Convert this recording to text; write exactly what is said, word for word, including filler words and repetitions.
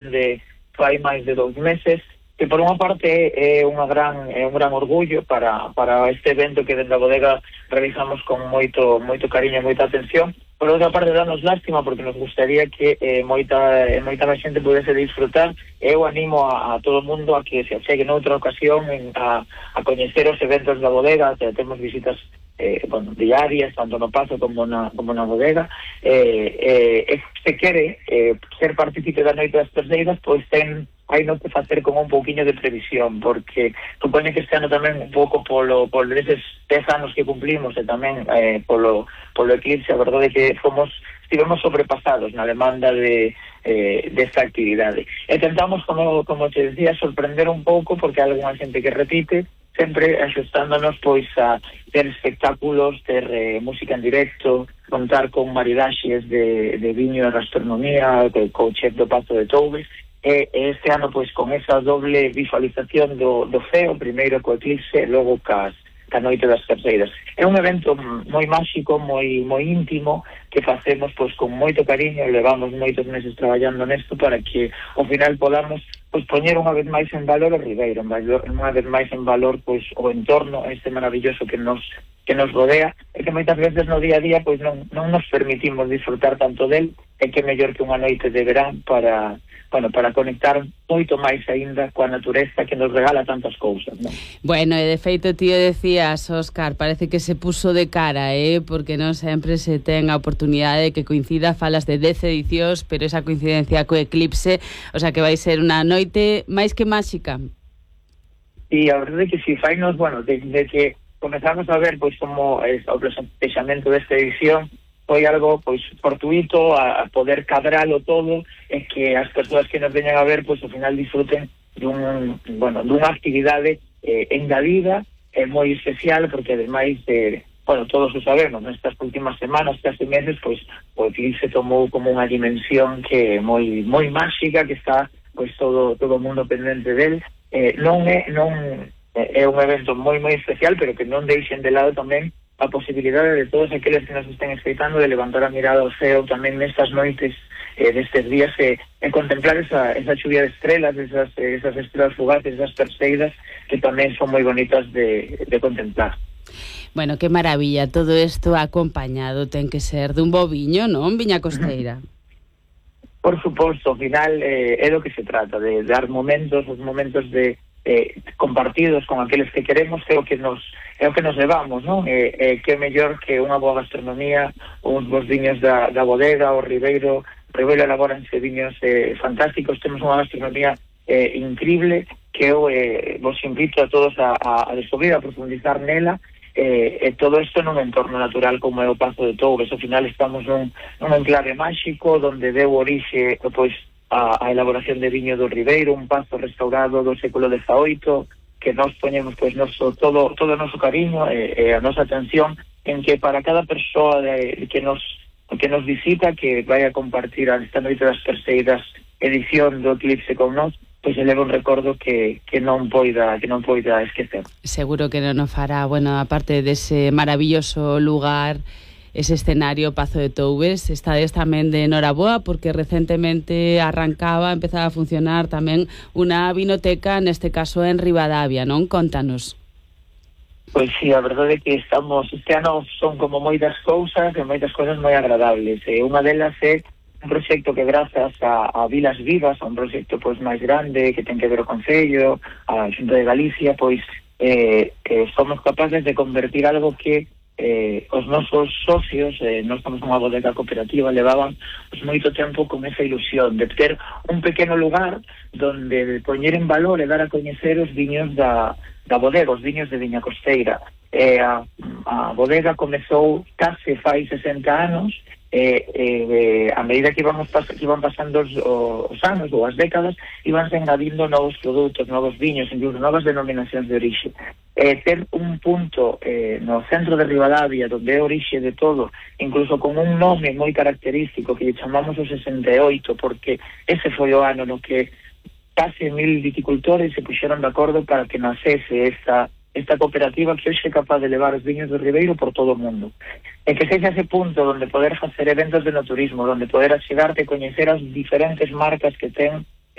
de fai máis de dous meses, que por unha parte é unha gran é un gran orgullo para para este evento que dentro da bodega realizamos con moito moito cariño e moita atención. Por outra parte, danos lástima porque nos gustaría que eh, moita eh, moita máis xente pudese disfrutar. Eu animo a, a todo o mundo a que se achegue noutra ocasión en, a, a coñecer os eventos da bodega. Te, temos visitas eh, bueno, diarias, tanto no pazo como na, como na bodega. Eh, eh, e se quere eh, ser partícipe da Noite das Terceiras, pois ten hai non que facer con un pouquiño de previsión, porque supone que este ano tamén un pouco polo, polo eses dez anos que cumplimos e tamén eh, polo, polo eclipse, a verdade é que fomos, estivemos sobrepasados na demanda de eh, desta actividade. E tentamos, como, como te decía, sorprender un pouco, porque hai alguna xente que repite, sempre axustándonos pois a ter espectáculos, ter eh, música en directo, contar con maridaxes de, de viño e gastronomía, co chef do Pazo de Toubes. E este ano, pois, con esa doble visualización do, do ceo, primeiro co eclipse e logo cas, ca Noite das Terceiras. É un evento moi máxico, moi moi íntimo, que facemos pois con moito cariño, levamos moitos meses traballando nesto para que ao final podamos pois poñer unha vez máis en valor o Ribeiro, unha vez máis en valor pois o entorno este maravilloso que nos que nos rodea, e que moitas veces no día a día pois non, non nos permitimos disfrutar tanto del, e que mellor que unha noite de verán para bueno, para conectar moito máis aínda coa natureza que nos regala tantas cousas, non? Bueno, e de feito, tío, decías, Óscar, parece que se puso de cara, eh? Porque non sempre se ten a oportunidade de que coincida, falas de dez edicións, pero esa coincidencia co eclipse, o sea que vai ser unha noite máis que máxica. E a verdade é que si fainos, bueno, de, de que comezamos a ver pois como é, o plexamento desta edición foi algo pois fortuito, a, a poder cadralo todo, e que as persoas que nos veñan a ver pois ao final disfruten dun, bueno, dunha actividade eh, engadida e eh, moi especial, porque ademais eh, bueno, todos o sabemos, nestas últimas semanas, casi meses, pois o eclipse tomou como unha dimensión que é moi moi máxica, que está pois todo todo o mundo pendente del. Eh, non é non é un evento moi moi especial, pero que non deixen de lado tamén a posibilidade de todos aqueles que nos estén escoitando de levantar a mirada ao ceo tamén nestas noites, eh, destes días, e, e contemplar esa, esa chuvia de estrelas, esas, esas estrelas fugaces, esas perseidas, que tamén son moi bonitas de, de contemplar. Bueno, que maravilla, todo isto acompañado ten que ser dun bo viño, non? Viña costeira. Por suposto, ao final eh, é do que se trata, de dar momentos, os momentos de eh, compartidos con aqueles que queremos, é o que nos é o que nos levamos, non? E, eh, que é mellor que unha boa gastronomía, uns bons viños da, da bodega, o Ribeiro, o Ribeiro elaboranse viños eh, fantásticos, temos unha gastronomía eh, increíble, que eu eh, vos invito a todos a, a, a descubrir, a profundizar nela, eh, e todo isto nun entorno natural como é o Pazo de Toubes. Ao final estamos nun, nun enclave máxico, donde deu orixe, pois, a, a elaboración de viño do Ribeiro, un pazo restaurado do século dezaoito, que nos poñemos pois noso, todo todo o noso cariño e, e a nosa atención en que para cada persoa de, que nos que nos visita, que vai a compartir esta Noite das Terceiras edición do eclipse con nós, pois se leva un recordo que, que non poida que non poida esquecer. Seguro que non o fará. Bueno, aparte dese maravilloso lugar, ese escenario Pazo de Toubes, estades tamén de noraboa porque recentemente arrancaba, empezaba a funcionar tamén unha vinoteca, neste caso en Ribadavia, non? Contanos. Pois sí, a verdade é que estamos, este ano son como moitas cousas e moitas cousas moi agradables. E unha delas é un proxecto que grazas a, a Vilas Vivas, a un proxecto pois máis grande que ten que ver o Concello, a Xunta de Galicia, pois eh, que somos capaces de convertir algo que Eh, os nosos socios, eh, nós estamos nunha bodega cooperativa, levaban pues, moito tempo con esa ilusión de ter un pequeno lugar donde poñer en valor e dar a coñecer os viños da, da bodega, os viños de Viña Costeira. Eh, a, a bodega comezou case fai sesenta anos, e eh, a medida que, íbamos pas, que iban pasando os, os anos ou as décadas, iban engadindo novos produtos, novos viños, incluso novas denominacións de orixe. Eh, ter un punto eh, no centro de Ribadavia, donde é orixe de todo, incluso con un nome moi característico que chamamos o sesenta e oito, porque ese foi o ano no que case mil viticultores se puxeron de acordo para que nacese esta esta cooperativa que hoxe é capaz de levar os viños do Ribeiro por todo o mundo. E que sexa ese punto onde poder facer eventos de no turismo, onde poder achegarte e coñecer as diferentes marcas que ten